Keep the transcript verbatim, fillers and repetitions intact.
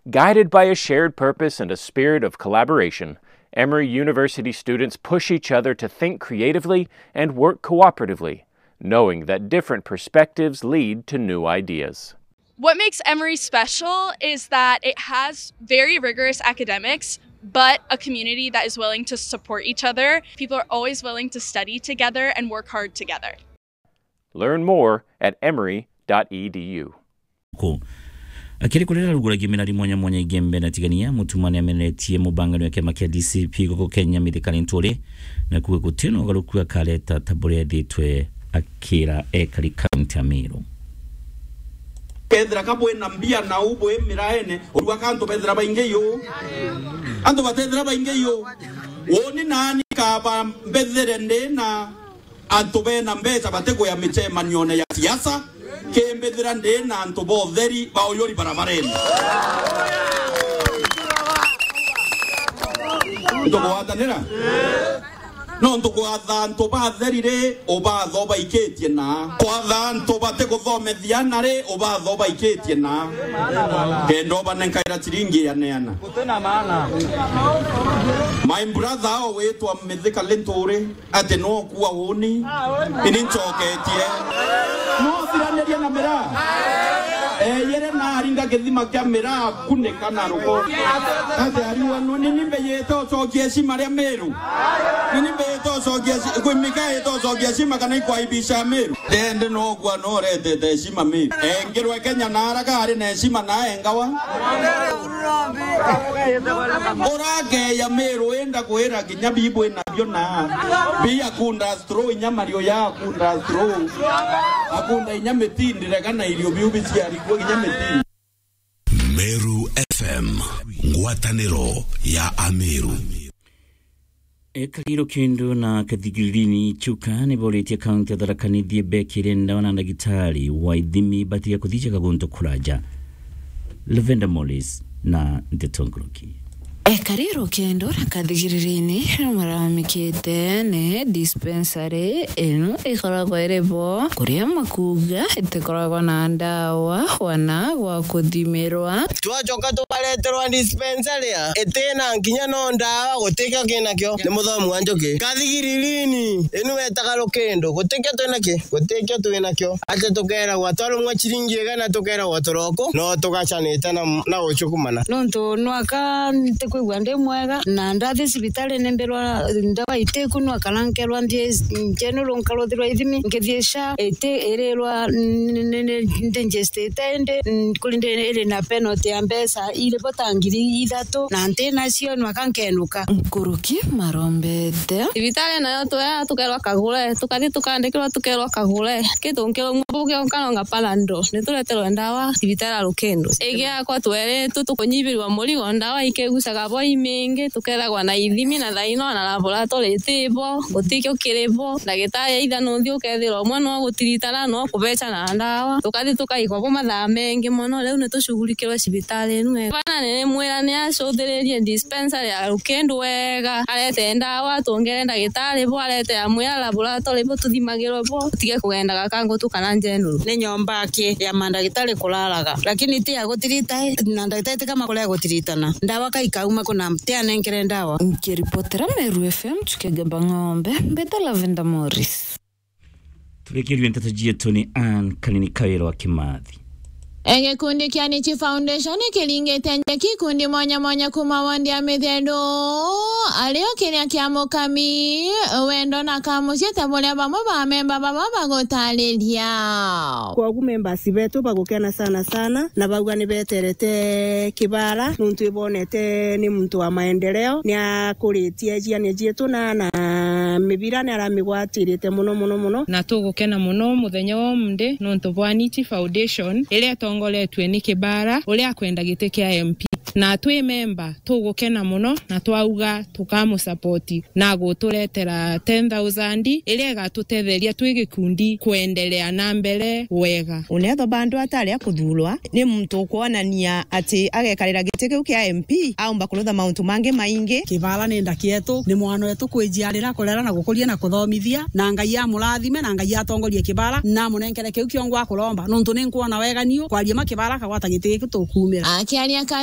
Guided by a shared purpose and a spirit of collaboration, Emory University students push each other to think creatively and work cooperatively, knowing that different perspectives lead to new ideas. What makes Emory special is that it has very rigorous academics, but a community that is willing to support each other. People are always willing to study together and work hard together. Learn more at emory dot e d u. Ku. Akiri kurira ruguragia mirari mwanya mwanya Igembe na Tigania, Mutuma ni amenetie mubangano ya kiama kia D C P guku Kenya Mithika Linturi, na kuuga guti na ugaruku akareta ta buria ethitwe akira ekari kaunti ya Meru. Kethira ka bwina mbia na u bwi miraene, urua ka antu bethira baingi yu. Antu batethira baingi yu. Uni nani kaba mbethire ndi na antu bena mbeca batikwia micemanione ya siasa, kimbithira ndi na antu ba utheri ba uyuri barabarene. Ntukugwatanira? No ntukwatha antu batheri ri, ubatha ubaikitie na. Kwatha antu batikuthomethia ana ri, ubatha ubaikitie na. Kenda ubanenkaira ciringi ya neana. My brother ao witwa Mithika Linturi, ati no kua uni, ini ncoketie. No thiraniria na miraa. Eyere na aringa githima kia miraa kunika na ruko. Ati ariwa no nini mbeyete ucokia heshima ria Meru. Nini mbeyete ucokia heshima, kwi mika yete ucokia heshima kana ikwaibisha Meru. Ndende no kua no retete heshima Meru. Engirwe Kenya na araga ari na heshima na engawa. Urakeya Meru wenda kwira kinya bibu ina bio na bi akunda straw inya mario ya akunda straw. Akunda inya mitindi rega na irio biu biciarikwo kinya mitindi. Meru F M, ngwataniro ya Ameru. Ekari Rukindu na Kathigirini Chuka ni boritie kaunti ya Tharaka Nithi ibekire ndawa na ndagitari wa ithimi batiga kuthijaga guntu kuraja. Lavender Morris na ndeto nkuruki. Ekari Rukindu na Kathigirini ni maramikite ni dispensary ino ikoragwa iri bo, kuria makuga itikoragwa na ndawa wana gwa kuthimirwa. Twacoka tukareterwa dispensary ya itina nkinya no ndawa, gutikio kinakio. Ni muthomi wa njuki. Kathigirini, inu wetaga Rukindu, gutikio twinaki, gutikio twinakio. Ati tukeragwa twarumwa ciringi igana, tukeragwa turoko, no tugacanite na, na gucukumana. Nontu nwaka ntikwigua ndi mwega, na ndathi cibitari ni mbirwa ndawa itiku, nwaka na nkerwa nthie general nkaruthirwa ithimi, nkithie sha iti irirwa n-, n-, n-, ndi njistite indi, n-, kuri ndi iri na penalty ya mbeca iri bo ta ngiri ithatu, na nti nacio nwaka nkenuka. Nkuruki marombete. Cibitari nayo twea tukerwa kagure, tukathi tukandikirwa tukerwa kagure. Kitu nkirumwa buge nkanonga Panadol, ni tureterwe ndawa cibitari ya Rukindu. Igiakwa tweritwe tukunyibirwa murigo, ndawa ikigucaga bo imingi, tukethagwa na ithimi na thaino na laboratory iti bo, gutikio kiri bo, ndagitari aitha nunthi ukethirwa umwe no gutiritana no kubeca na ndawa. Tukathi tukaigwa bo mathaa mengi mono, riu ni tucugurikirwe cibitari inu. Bana ni mwira ni acuthiririe dispensary ya Rukindu wega, arete ndawa, tuongere ndagitari bo, arete amwira laboratory bo, tuthimagirwe bo, tutige kugendaga kangutu kana general. Ni nyomba aki ya mandagitari kuraraga, lakini ti ya gutirita, na ndagitari ti kama kuria gutiritana. Ndawa kaikauma kuna ti anenkere ndawa. Nkiripotera Meru F M, Chukegamba Ng'ombe, mbeta Lavender Morris. Turikirue nteto cietu ni Ann Kanini Kawira wa Kimathi. E, gikundi kia Nichi Foundation kiringite njeki ikundi mwanya mwanya kuma wondi ya Mithendu, ario kiria kia Mukami, Wendo na Kamucii ta buria bamwe ba memba baba bagutariria. Kwogu members betu bagukena sana sana, na bauga ni beterete Kibara, nuntu ibonete ni muntu wa maendeleo, ni akuritie ciana cietu na, na mibira ni aramigwatirite muno, muno, muno. Na tugukena muno muthenya wa umuthi nuntu bwa Nichi Foundation, iria itongoretue ni Kibara, uria akwenda giti kia M P. Na twi memba, tugukena muno, na twauga tukamusapoti na guturetera ten thousand, iria igatutetheria twi gikundi kwendelea na mbere wega. Unethwa bandu atari a kuthurwa, ni muntu ukwonania ati agekarira giti kiu kia M P, aumba kurutha mauntu mangi maingi. Kibara ni ndaki yetu, ni mwana wetu kwijiarira, kurera na gukuria na kuthomithia, na Ngai amurathime, na Ngai atongorie Kibara, na amunenkere kiu kiongo akuromba, nuntu ni nkwona wega niu, kwaria ma Kibara akagwata giti giki tukumira. Akiaria Catherine